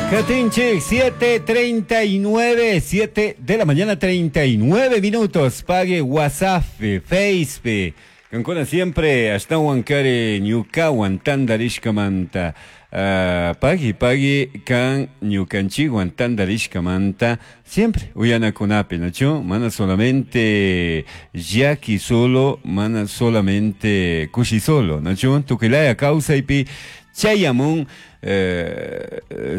Katinchik, 7:39, 7 de la mañana, 39 minutos. Pague WhatsApp, Facebook. Kankuna siempre ashtawan kari ñukawan tandarishkamanta. Pagui, pagui kan ñukanchikwan tandarishkamanta siempre uyanakunapi, ¿nachu? Mana solamente llaki solo, mana solamente kushi solo, ¿nachu? Tukilaya kawsaypi chayamun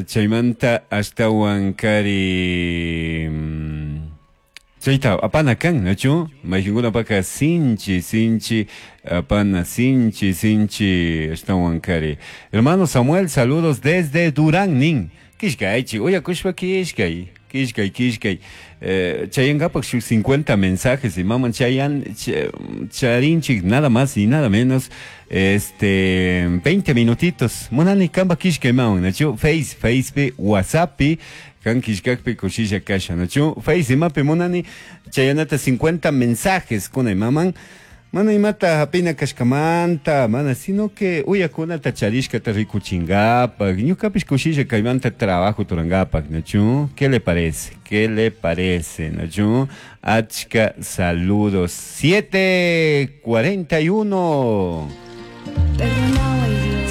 chaymanta ashtawan kari chayta apana kan, ¿nachu? Mayqinkunapaka sinchi, sinchi apana, sinchi, sinchi ashtawan kari. Hermano Samuel, saludos desde Durán, nin. Kishkaychi, uyakushpa kishkay, kishkay, kishkay. Chayankapak shuk 50 mensajes y maman chayan, charinchik, nada más y nada menos, 20 minutitos. Munani kamba kishkay maman, ¿nachu? Face, Facebook, WhatsApp, kan kishkakpi kushisha kasha, ¿nachu? Face imapi munani chayanata 50 mensajes kunay maman. Mana imata hapina kashkamanta, mana, sino que uyakunata charishkata rikuchingapak, ñukapish kushisha kaymanta trabajo turangapak, ¿nachu? ¿Qué le parece? ¿Qué le parece, nachu? Achka, saludos. 7:41.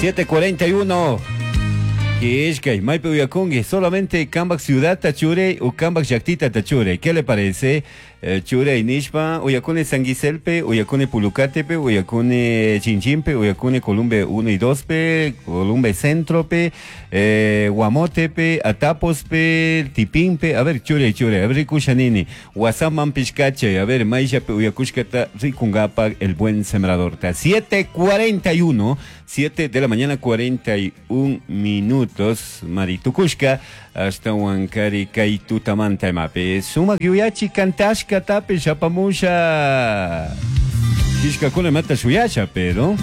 7:41. Kishkay, maypi uyakunki, solamente kambak ciudad tachure o kambak llaktita tachure. ¿Qué le parece? Chure nishpa, uyakuni San Giselpe, uyakuni Pulucatepe, uyakuni Chinchimpe, uyakuni Columbe 1 y 2pe, Columbe Centrope, Guamotepe, Atapospe, Tipimpe, a ver, chure, chure, a ver, rikushanini, Guasaman Pishcache, a ver, Maishape, uyakushkata, rikungapa, el buen sembrador. Ta 7:41, 7 de la mañana, 41 minutos, Maritukushka, hasta Huancari, Kaitutamanta, Mape, Sumak Yuyachi, Kantashka, Tape, Chapamusha, Kishka Kuna Mata Shuyasha, pero.